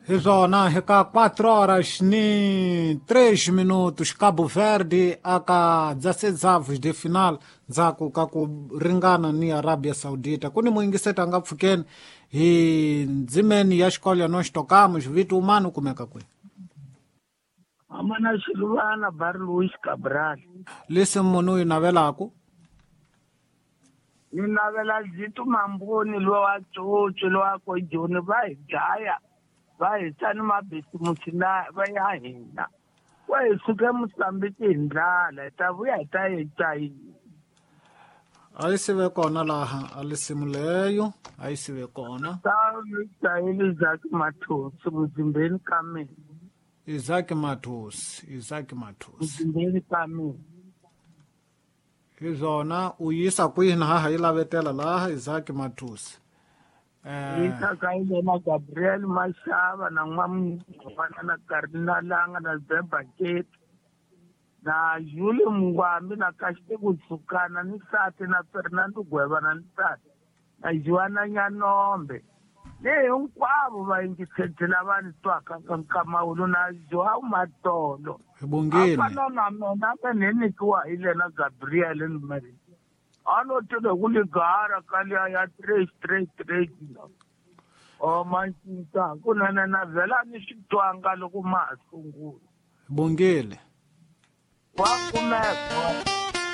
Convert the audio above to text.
Hi swona eka 4 horas ni 3 minutos Cabo Verde aka 16 de final ndzhaku ka ku ringana ni Arabia Saudita. Ku ni muyingiseti a nga pfukeni hi ndzimeni ya xikolo ya nós tocamos vito umani u kumeka kwihi? Amana Xiluvana Bar Luis Cabral. Lesi munhu u yi navelaku? Ni navela Zito Mamboni lowa Tsotso lowa ko Joni va hi dlaya va hisa ni mabisimusi la va ya hina. Va hi suke Mozambique hi ndlala hi ta vuya hi ta yi cayini. A yi sive kona laha a lisimu leyo a yi sive kona. Ta ni cayile Isaac Mathosi muzimbeni ka mina. Isaac Mathosi, Isaac Mathosi. Muzimbeni ka mina. Hi swona u yisa kwihi na haha yi lavetela laha Isaac Mathosi. Yisa ka yena Gabriel Mashava na n'wamngwana na Karina Langa na Zeba Keti na Julie Mungwambi na Kashite Kutsukana ni Sati na Fernando Gweva na Nsati na Joana Nyanombe ni hinkwavo vayingiseti lava ni twaka ka nkamawulo na Joao Matolo. Hi bongile. Afana na mina me ni nyikiwa hi lena Gabriel ni Mary. A no tile ku ligara ka liya ya 3 3 3 la. O mancinca kunene na vhela ni swi twanga loko ma ha sungula. Hi bongile. Wa kumeka.